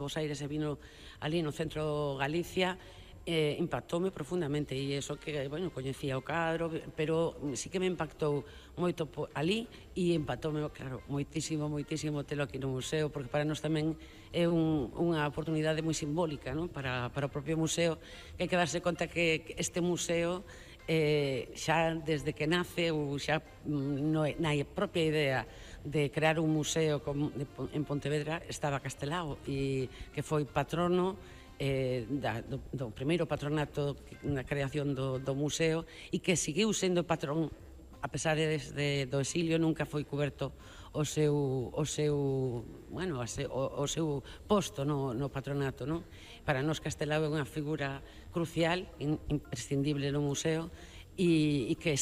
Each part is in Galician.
Bos Aires e vino ali no centro Galicia, impactoume profundamente, e iso que, bueno, coñecía o cadro, pero sí que me impactou moito ali, e impactoume, claro, moitísimo telo aquí no museo, porque para nós tamén é unha oportunidade moi simbólica, non? Para o propio museo, que hai que darse conta que este museo xa desde que nace, ou xa na propia idea de crear un museo en Pontevedra, estaba Castelao, e que foi patrono do primeiro patronato na creación do museo, e que seguiu sendo patrón a pesar do exilio. Nunca foi cuberto o seu posto no patronato, non? Para nós Castelao é unha figura crucial, imprescindible no museo, e que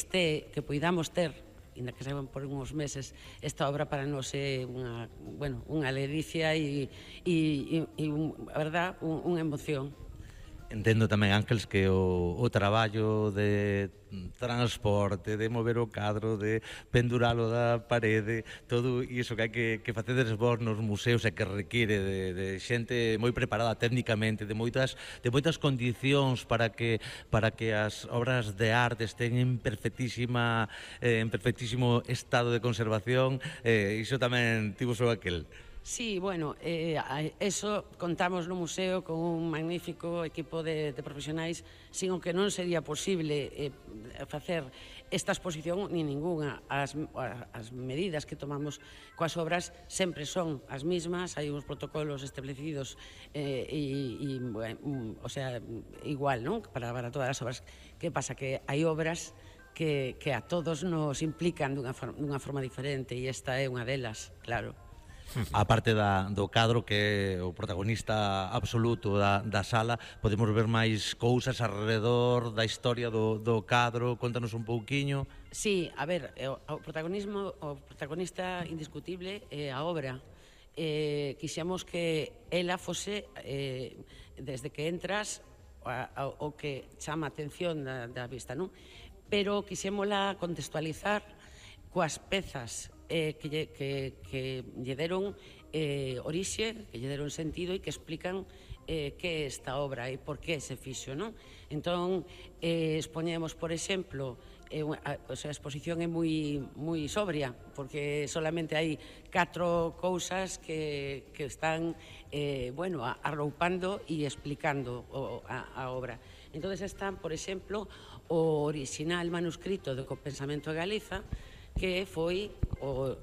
poidamos ter, ainda que saben por uns meses, esta obra para nós é unha ledicia e a verdad, unha emoción. Entendo tamén, Ángeles, que o traballo de transporte, de mover o cadro, de penduralo da parede, todo iso que hai que facedes vos nos museos e que require de xente moi preparada técnicamente, de moitas condicións para que as obras de arte estén en perfectísimo estado de conservación, iso tamén tivo só aquel. Sí, bueno, eso contamos no museo con un magnífico equipo de profesionais, sin o que non sería posible facer esta exposición ni ningunha. As medidas que tomamos coas obras sempre son as mismas, hai uns protocolos establecidos igual, non? Para todas as obras. Que pasa? Que hai obras que a todos nos implican dunha forma diferente, e esta é unha delas, claro. A parte do cadro, que é o protagonista absoluto da sala, podemos ver máis cousas alrededor da historia do cadro. Contanos un pouquiño. Sí, a ver, o protagonista indiscutible é a obra. Quixemos que ela fose, desde que entras, o que chama a atención da vista, non? Pero quixémola contextualizar coas pezas que lle deron orixe, que lle deron sentido e que explican que é esta obra e por que se fixo, non? Entón, expoñemos, por exemplo, a exposición é moi sobria, porque solamente hai 4 cousas que están arroupando e explicando a obra. Entón, están, por exemplo, o original manuscrito do Pensamento de Galiza, que foi o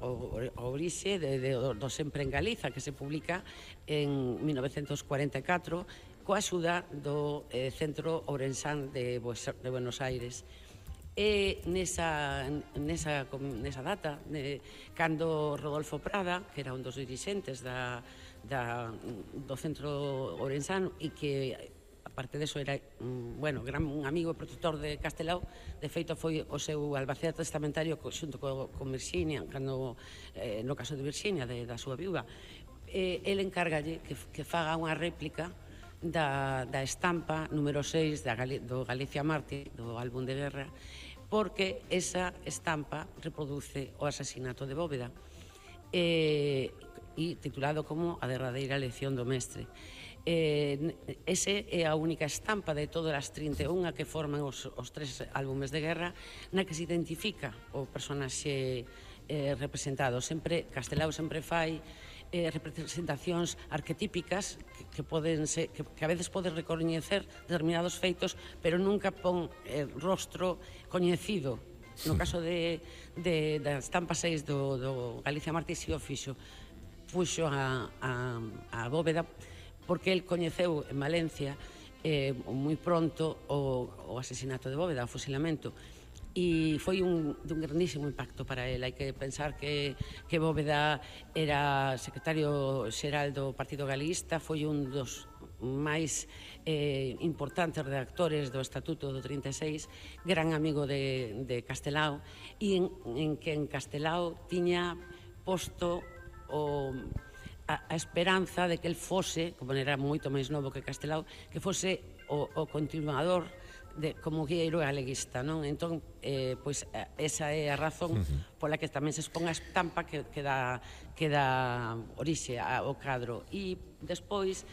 orixe do Sempre en Galiza, que se publica en 1944 coa axuda do Centro Ourensán de Buenos Aires. E nesa data, cando Rodolfo Prada, que era un dos dirixentes do Centro Ourensán, e que aparte deso era un amigo e protector de Castelao, de feito foi o seu albacea testamentario xunto con Virxinia, no caso de Virxinia, da súa viúva. El encárgalle que faga unha réplica da estampa número 6 do Galicia Mártir, do álbum de guerra, porque esa estampa reproduce o asasinato de Bóveda, e titulado como A derradeira lección do mestre. Ese é a única estampa de todas as 31 que forman os 3 álbumes de guerra na que se identifica o personaxe representado. Castelao sempre fai representacións arquetípicas que a veces pode recoñecer determinados feitos, pero nunca pon rostro coñecido. No caso da estampa 6 do Galicia Mártir, si o fixo, puxo a Bóveda, porque el coñeceu en Valencia moi pronto o asesinato de Bóveda, o fusilamento, e foi dun grandísimo impacto para el. Hai que pensar que Bóveda era secretario xeral do Partido Galeguista, foi un dos máis importantes redactores do Estatuto do 36, gran amigo de Castelao, e en que en Castelao tiña posto a esperanza de que el fose, como era moito máis novo que Castelao, que fose o continuador como guieiro galeguista, non? Entón, pois, esa é a razón pola que tamén se expón a estampa que dá orixe ao cadro. E despois,